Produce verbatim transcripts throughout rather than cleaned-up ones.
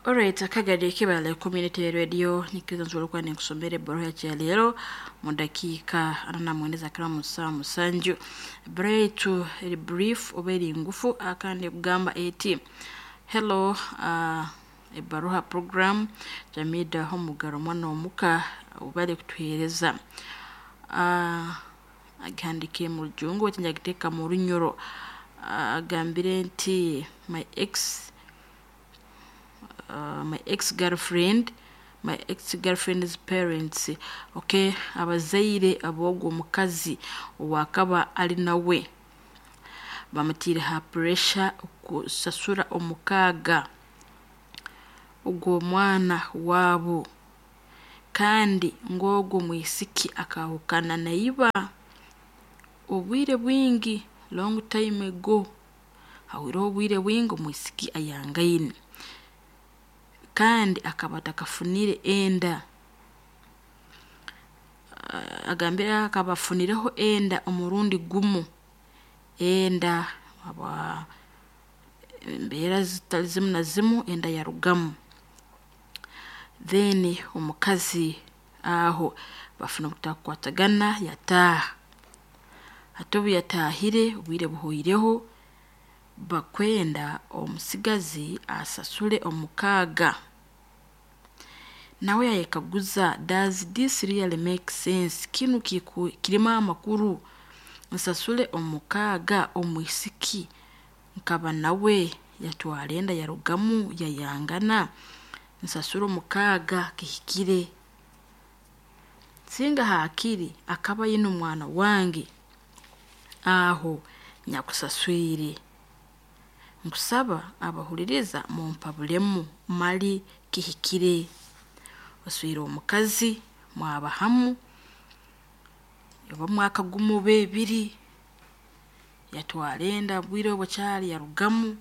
Alright, akagari kibale community radio nikiriza nsobola okuba nenkusomera ebbaluha yakyaleero mu dakiika ana na mwenda ezakira mu ssaawa musanju. Ebbaluha yaitu eri brief oba eri ngufu akandi ekugamba eti hello uh, ebbaruha program Jamida Omugaro omwana omuka obale kutuheereza uh, agihandiikire mu rujungu baitu nagiteeka mu runyoro. uh, agambire nti my ex uh, my ex-girlfriend my ex-girlfriend's parents, okay, abazaire ab'ogwo omukazi owakaba ali nawe bamutiire ha pressure okusasura omukaaga ogw'omwana waabo, kandi ng'ogwo omwisiki akahukana na iba obwire bwingi, long time ago, hahwireho obwire bwingi omwisiki ayangaine kandi akaba atakafunire enda. Uh, agambire akaba afunireho enda omurundi gumu, enda aba embeera zitali zimu na zimu enda yarugamu. Then omukazi aho bafuna obutakwatagana yataaha. Hati obu yataahire obwire buhweireho bakwenda omusigazi asasule omukaaga. Nawe yayekaguza, does this really make sense? Kinu kiku, kirimu amakuru nsasule omukaaga omwisiki nkaba nawe yatwara enda yarugamu yayangana, nsasule omukaaga kihikire? Singa haakiri akaba aine omwana wange aho nyakusaswire. Nkusaba abahuliriza mumpabulemu mali kihikire? Oswire omukazi mwaba hamu oba mwaka gumu oba ebiri, yatwara enda bwire obwo kyali yarugamu,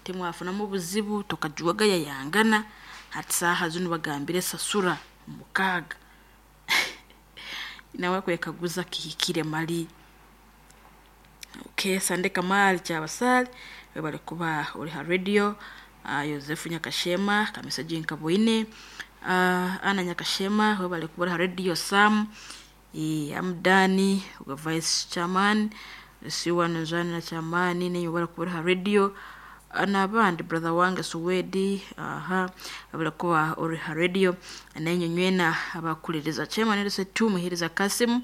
timwafunamu obuzibu tokajwaga yayangana, hati saaha zinu bagambire sasura omukaaga. Nawe akwekaguza kihikire mali? Okay, Sande Kamali Kyabasaali webale kuba ori ha radio. uh, Yosefu Nyakashema Kamisaji Nkabwine, uh, Ana Nyakashema webale kuba ori ha radio. Sam e, Amdani ogwa vice chairman Siwa Nzani na chairman nenye webale kuba ori ha radio, n'abandi brother wange Suwedi aha abale kuba ori ha radio nenye nywena abakuliriza chairman Elise tu Muhiriza Kasim.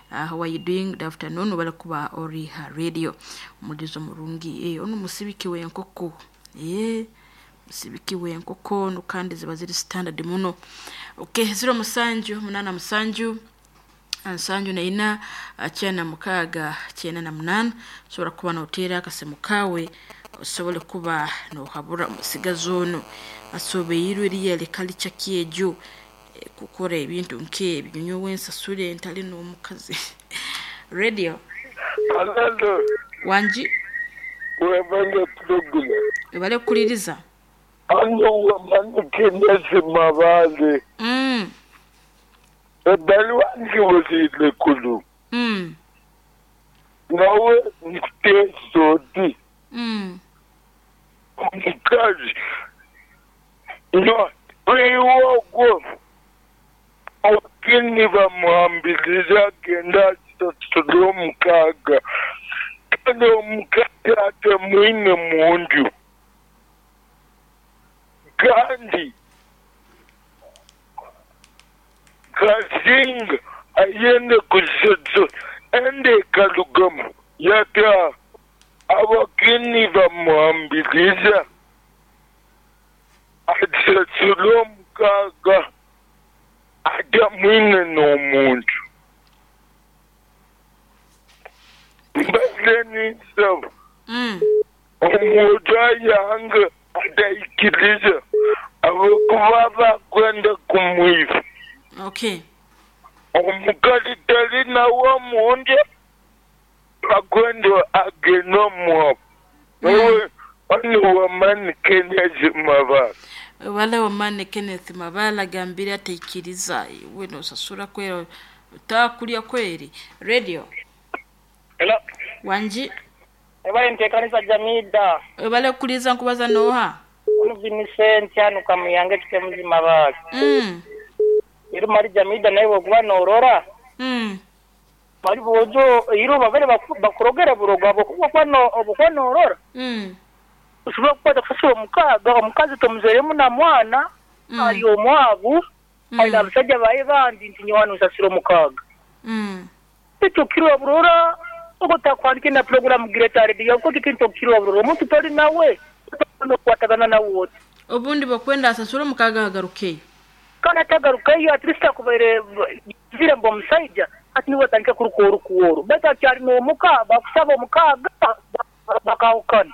Uh, how are you doing? Good afternoon. Webale kuba ori ha radio omulizo murungi. Eh, ono musibiki w'enkoko, eh musibiki w'enkoko ono kandi ziba ziri standard muno. Okay, ziro musanju munana musanju nsanju na ina kyenda mukaaga kyenda na munaana osobola kuba noteera akasimu kaawe osobole kuba nohabura omusigazi ono asobeirwe eriya kalica kyegyo kukora ebintu nk'ebyo nyowe nsasule ntali n'omukazi. Radio. Alalo. Wangi. Webale program. Webale kukuliriza. Ano wamanukinesi mabale. Mm. Ebbaluwa ngiwulire kulu. Mm. Nawe nkuteesa oti Mm. omukazi no ogwo abakini bamuhambiriza agenda asasule omukaaga, kandi omukazi atemwine munju, kandi kasinga ayende kusasula ende ekarugamu yataaha, abakini bamuhambiriza asasule omukaaga atamwine n'omuntu. Mbaze ninsaba Mm. omuntu ayanga ataikiriza ahabw'okuba bakwenda kumwiba. Okay. Omukazi tali nawe omunju bakwenda agende omuwabo. Nawe ono wamani Kenneth Mabala. Wale wamani Kenneth Mabala agambire ataikiriza iwe nosasura kwera otakulya kweri. Radio. Hello. Wangi. Ebale ntekanisa Jamida. Webale kukuliriza nkubaza noha? Mukuru Vincent hano kamuyange kike muzima bake. Mm. Ero mari Jamida nawe wokuba norora. Mm. Bari bojo iro babere bakurogera buroga bokuba kwano obukono norora. Mm. Ushobora kukwata kusasura omukaga omukazi tomuzeremu na mwana Mm. ari omwabu Mm. ari abasajja baye bandi nti nyowana usasura omukaga. Mm. Ekyo kirwa burora ogotakwandike na program Greater Radio kuko kintu kirwa burora omuntu tori nawe nokwatagana nawe wote. Obundi bakwenda asasura omukaga agarukeyo. Kandi atagarukayo at least akubaire vire mbo omusajja ati niwe atandike kuruka orukuworo baitu akyari n'omuka bakusaba omukaga bakahukana.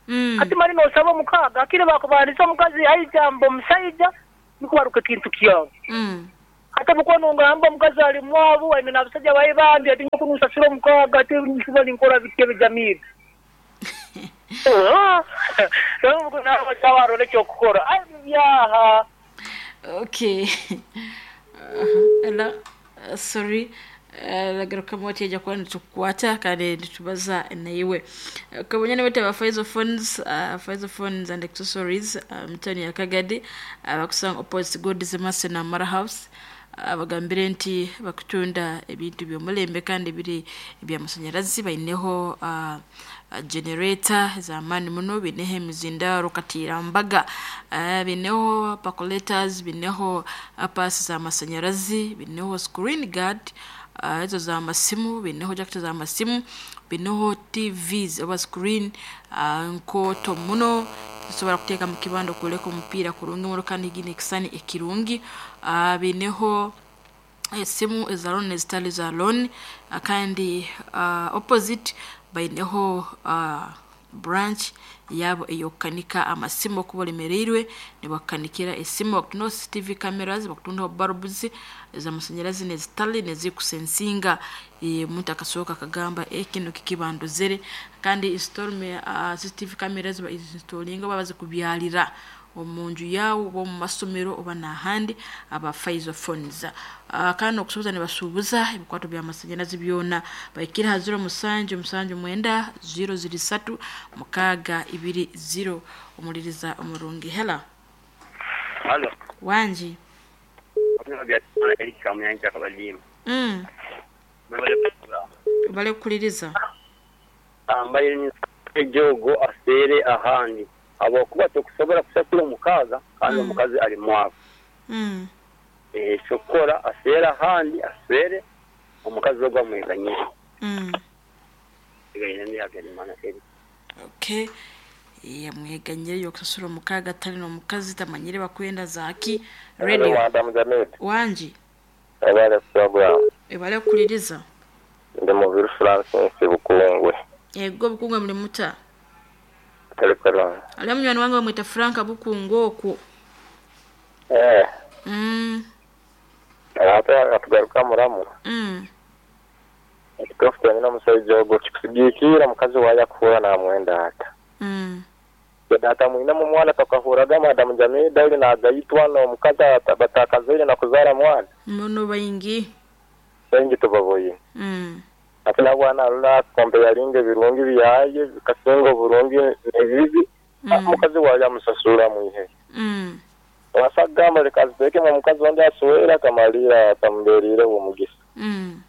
Mm. Ati mari nosaba omukaga akire bakubandiza omukazi aija mbo omusajja niko baruka ekintu kyawe. Mm. Ate bukono ngamba omukazi ali mwabu aine n'abasajja baye bandi ati nyoku nusasura omukaga ati nsiba ninkora bitebe Jamida. Rero ubwo nawe bacabarora ekyokukora ai byaha. Okay. Uh, ela uh, sorry lagaruka moti ejja kuba nitukukwata kandi nitubaza naiwe kabonya nibete ba Faizo Phones, uh, Faizo Phones and Accessories uh, mutani ya Kagadi uh, bakusanga opposite God's Mercy na Mara House. uh, bagambire nti bakutunda ebintu by'omulembe kandi biri ebyamasanyarazi baineho uh, generator z'amaani muno, bineho emizindaro katirambaga, uh, bineho percolators, bineho pasi z'amasanyarazi, bineho screen guard uh, ezo z'amasimu, bineho jacket z'amasimu, bineho T Vs oba screen uh, nkoto muno tusobola kuteeka mu kibanda okuleka omupiira kurungi muno kandi gine ekisani ekirungi. uh, bineho esimu eza loan ezitali za loan, uh, kandi uh, opposite baineho uh, branch yabo eyokukanika amasimu okuba olemereirwe nibakanikira esimu, bakutundaho C C T V cameras, bakutundaho bulbs ez'amasanyarazi nezitali nezikusensinga. Omuntu akasooka akagamba e kino kikibandozere kandi install uh, C C T V cameras ba installinga oba bazikubyalira omunju yawe oba omu masomero oba n'ahandi aba Faizo Phones. Uh, kandi okusuubuza nibasuubuza ebikwato by'amasanyarazi byona baikire ha zero musanju musanju mwenda zero ziri satu mukaaga ibiri zero. Omuliriza omurungi. Hela. Halo. Wanji. Mm. Bale kuliriza. Ambaye ejogo asere ahandi. Abakuba tokusobola kusasula omukaga kandi omukazi ali mwavu. Mm. Eh shokora asera ahandi asere omukazi ogwa mweganye. Mm. Igayina ni Habyarimana eri. Okay. Ya mweganye yo kusasula omukaga tali n'omukazi tamanyire bakwenda zaki. Radio. Wanji. Ebale program. Ebale kuliriza. Ndi Mubiru Francis Bukungwe. Ego Bukungwe muri muta. Telegram. Ali munywani wange bamwita Frank Bukungwe okwo. Eh. Mm. Ate atugaruka muramu. Mm. Ekitofu nyina omusajja ogwo kikusigikira mukazi waaya kuhura namwenda ata. Mm. Data mwina mu mwana tukahuraga Madam Jamida uli nagayitwa n'omukazi batakazaire na kuzaara mwana. Muno baingi. Baingi tubaboye. Mm. Ate nabwana arula kombe yalinga ebirungi byaye bikasinga oburungi n'ebibi. Mm. Omukazi waaya amusasura mwihe. Mm. Wasagamba leka aziteeke mu mukazi wandi aswera akamalira atamberire omugisa. Mm.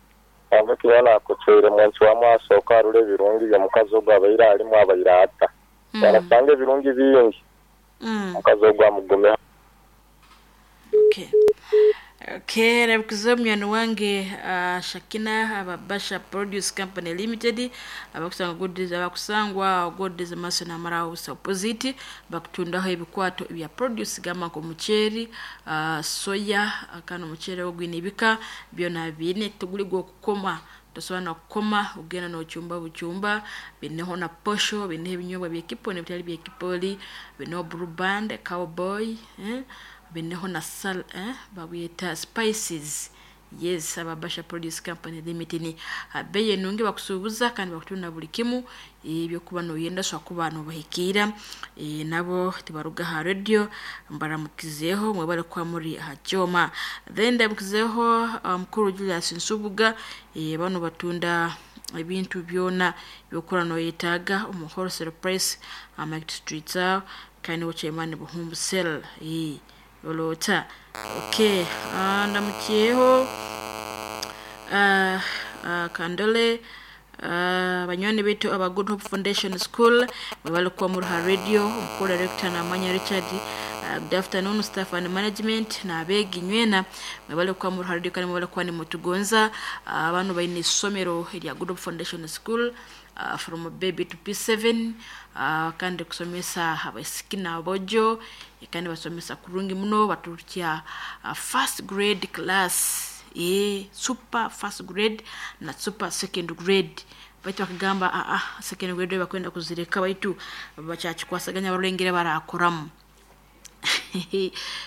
Amukibona akucwire mwanchi wa mwasooka arula ebirungi by'omukazi ogwo abaire alimu abaire ata. Mm. Arasanga ebirungi bingi. Mm. Omukazi ogwo amugume. Okay. Okay, rabukizo munywani wange uh, Shakina ababasha Produce Company Limited abakusanga goodies abakusangwa goodies maso na mara house opposite bakutundaho ebikwato ebya produce gama ko mucheri uh, soya akano muchere ogwinibika byona bine tuguligwa okukoma tosobola kukoma ogenda n'okyumba bukyumba bineho na posho bineho ebinyobwa byekiponi ebitali byekipoli bineho blue band cowboy eh? Bineho na sal eh babiyita spices. Yes, ababasha Produce Company Limited ni abeye nungi bakusubuza kandi bakutunda buli kimu ebyo kuba noyenda so kuba no bahikira e, nabo tibaruga ha radio mbaramukizeho mwebale kwa muri hajoma. Then ndamukizeho mukuru um, Julius Nsubuga e, bano batunda ebintu byona byokura no yetaga omu wholesale price market streets Kandi niwe chairman Buhumbu Cell eh olota. Okay, uh, ndamukiyeho uh, uh, Kandole, uh, banywani bitu aba Good Hope Foundation School mwebalikuwa muruha radio, omukuru director Namanya Richard. uh, good afternoon staff and management n'abeegi nywena mwebalikuwa muruha radio kandi mwebalikuwa nimutugonza. uh, abantu baine isomero erya Good Hope Foundation School, uh, from baby to P seven, uh, kandi kusomesa abaisiki n'abojo, kandi basomesa kurungi muno, baturukya uh, first grade class, e super first grade na super second grade. Baitu bakagamba ah, ah, second grade bakwenda kuzireka, baitu bakyakikwasaganya barulengere barakoramu.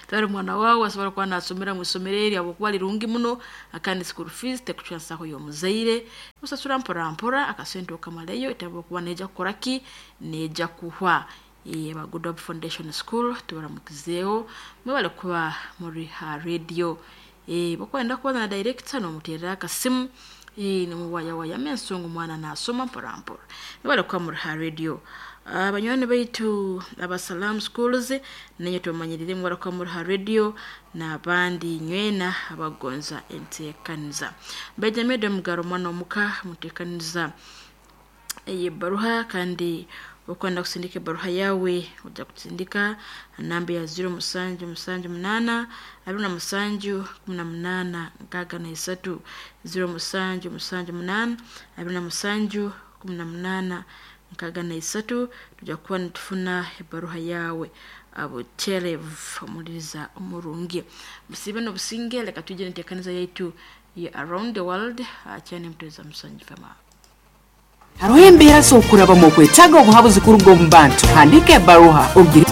Tari mwana wawe asobora kuba nasomera mu isomero eri habwokuba lirungi muno, kandi school fees tekucwansaho y'omuzaire, usasura mpora mpora akasente okamaleyo etabu kuba neja kukoraki, neja kuhwa. Aba Good Hope Foundation School tubaramukizeeho, mwebale kuba muri ha radio. eh bakwenda kuba na director nomuterera akasimu, eh nimuwayawaya ensonga omwana nasoma mpora mpora. Mwebale kuba muri ha radio. Abanywani baitu abasalam schools nenye tumanyirire mwara muri ha radio n'abandi nywena abagonza enteekaniza. Benjamin Mugaro mwana omuka muteekaniza iyi baruha, kandi ukwenda kusindika baruha yawe ujya kusindika namba ya ziro musanju musanju munana abiri na musanju kumi na munana nkaaga na isatu, ziro musanju musanju munana abiri na musanju kumi na munana nkaaga na isatu. Tujya kuba nitufuna ebaruha yawe abuterev omuliriza omurungi. Musibe nobusinge, leka tujye neteekaniza yaitu ya Around the World akyane muteza musanju fema. Hariho embeera z'okuraba mu kwetaaga obuhabuzi kuruga omu bantu. Handika ebaruha ogire.